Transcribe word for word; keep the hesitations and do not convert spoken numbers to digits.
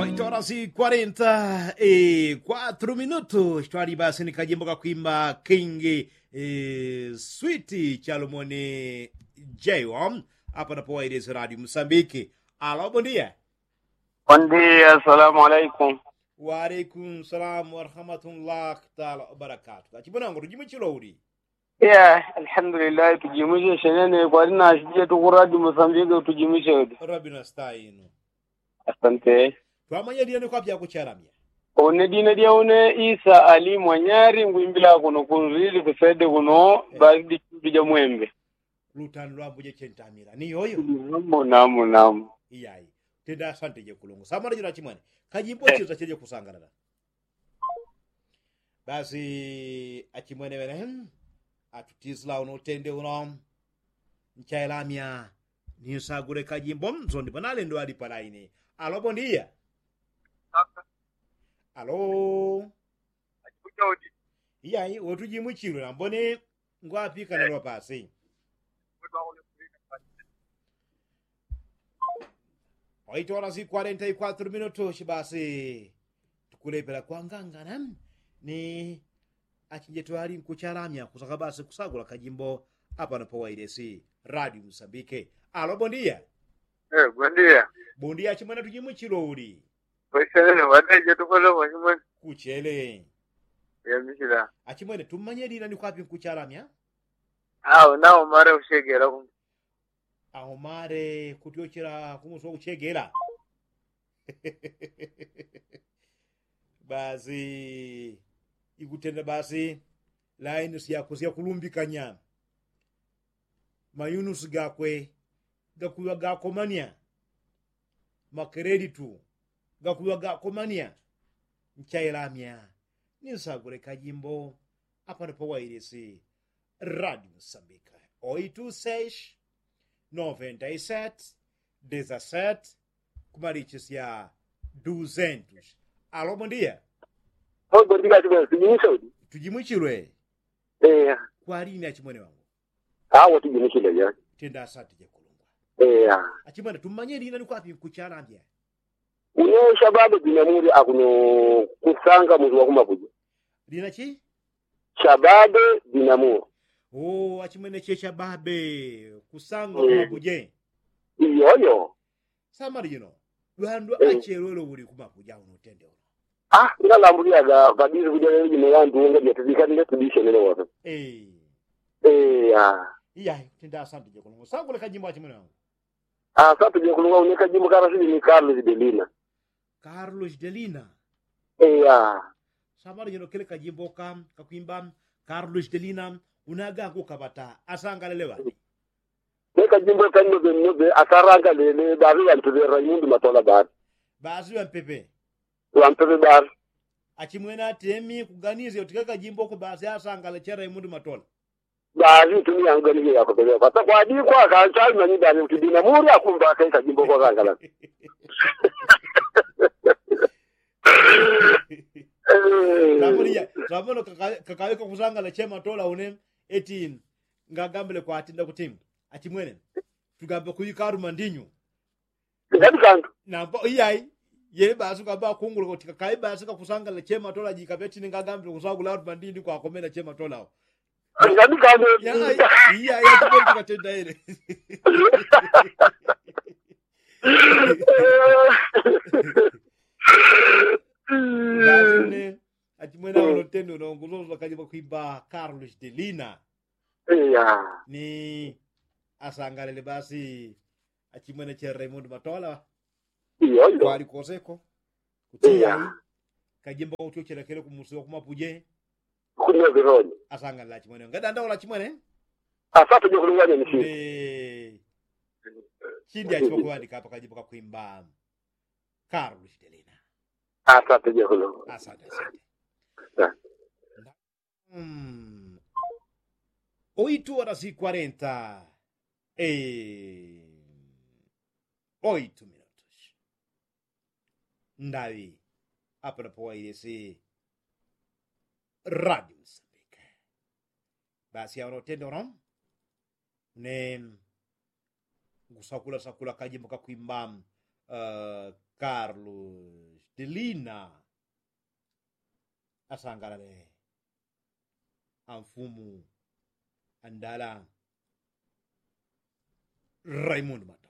Oito horas e quarenta e quatro minutos twali basi ni kajimbo kakwimba kingi. Switi chalomoni jaiwa. Apa napowailisi radio musambiki. Alo bondia. Bondia salamu alaikum. Waalaikum salamu warahmatullah taala wabarakatu kachibonango tujimuchilo uli? Ya alhamdulillahi tujimuche shenene kwali nashije tukuradi musambiki tujimuche uli? Rabina stainu. Asante. Twamanya dina ni kwapya kuchalamya? Une dina dya une isa ali mwanyari ngwimbila kuno kunzili kusede kuno. Basi dichumbi ja mwembe. Lutano lwambuje chentamila ni yoyo. Namo namo namo. Iyayi. Tenda asante je kulungu samana jino achimwene. Kajimbo chilo tacheje kusangalala. Basi achimwene wene atutisila uno utende uno. Nchailamya. Ninsagule kajimbo msondi panalendo ali palaini. Alo bondia. Alo. Iyayi wotujimwichilwe nambone. Ngwapika nalwa pasi. Oito horas e quarenta e quatro minutos basi. Tukulepela kwangangana ni achinje twali nkuchalamya kusaka basi kusagula kajimbo. Apano pawailesi radio musambike. Alo bondia. Bondia. Bondia achimwene tujimuchilo uli? Kuchele. Achimwene tummanye dina ni kwapi nkuchalamya? Au nao mare ushegela. Aumare kutyochela kumusi wakuchegela. Basi ikutenda basi. Laini syakwe syakulumbikanya. Mayunusi gakwe gakuŵa gakomanya. Makelelitu gakuŵa gakomanya. Nchailamya ninsagule kajimbo. Apano pawailisi radio musambika. Oitu seis noventa i set dezaseti. Kumalichisya duzentus. Alo bondia. Bondia. Tujimwichilwe. Kwalini achimwene wangu? Awo tujimwichilwe ya. Tenda asante jekulungwa. Achimwene tummanye lina ni kwapi nkuchalambya? Une shababe dinamuli akuno kusanga muzi wakumapuja. Lina chi? Shababe dinamuli. Achimwene che shababe kusanga kumapuja. Iyoyo. Samali jino lwandu achelwelo uli kumapuja uno utende uno. Ngalambulyaga padili kuja lelo jino yandu unga jatutikanile tudishe nene woto. Iya. Iya. Tenda asante jekulungwa sangule kajimbo achimwene wangu. Asatu jekulungwa une kajimbo karasili ni karlu jidelina. Karlu jidelina. Iya. Samali jino kele kajimbo ka kakwimba karlu jidelina. Unaga kukaŵata asangalele ŵani? Kajimbo ka nnobe nnobe asarangalele baŵi ŵampepe raimundi matola baŵi. Baŵi ŵampepe. Ŵampepe baŵi. Achimwene atemi kuganisya uti kajimbo ko baŵi asangale che raimundi matola. Baŵi tumi yangu ganiye yakopeleka takwadikwa kanchali manyi baŵi uti dinamuli akumbaka ikajimbo ko asangalale. Tamuliya tamono kakaweka kusangala chematola une. Eti ngagambile kwati ndakuti achimwene tugambe kuika aruma ndinyu. Namba iyayi. Yele basi ukamba akungula kuti kakayi basi kakusangala chematola jikapetini ngagambile kusangula aruma ndinyu kwakomena chematola awo. Iyayi. Tukatenda ele. Achimwene awo notendo nongulozo kajimbo kwimba carlos delina. Ni asangalele basi. Achimwene che raimundi matola. Kwali koseko. Kutiya kajimbo kautyochela kele kumusi wakumapuje. Asangalele achimwene ngadandaula achimwene. Asatu jokulunganya ni chindi achimwene kuŵandika apa kajimbo kakwimba. Karlu shitelina. Asatu jokulunganya. Asatu asatu. Oitu horas i kwarenta oitu minutus. Ndaŵi apanapo wailesi. Radi msambike. Basi awono utende uno. Ni ngusakula sakula kajimbo kakwimba. Karlu lina asangalale amfumu andala raimundi mwana.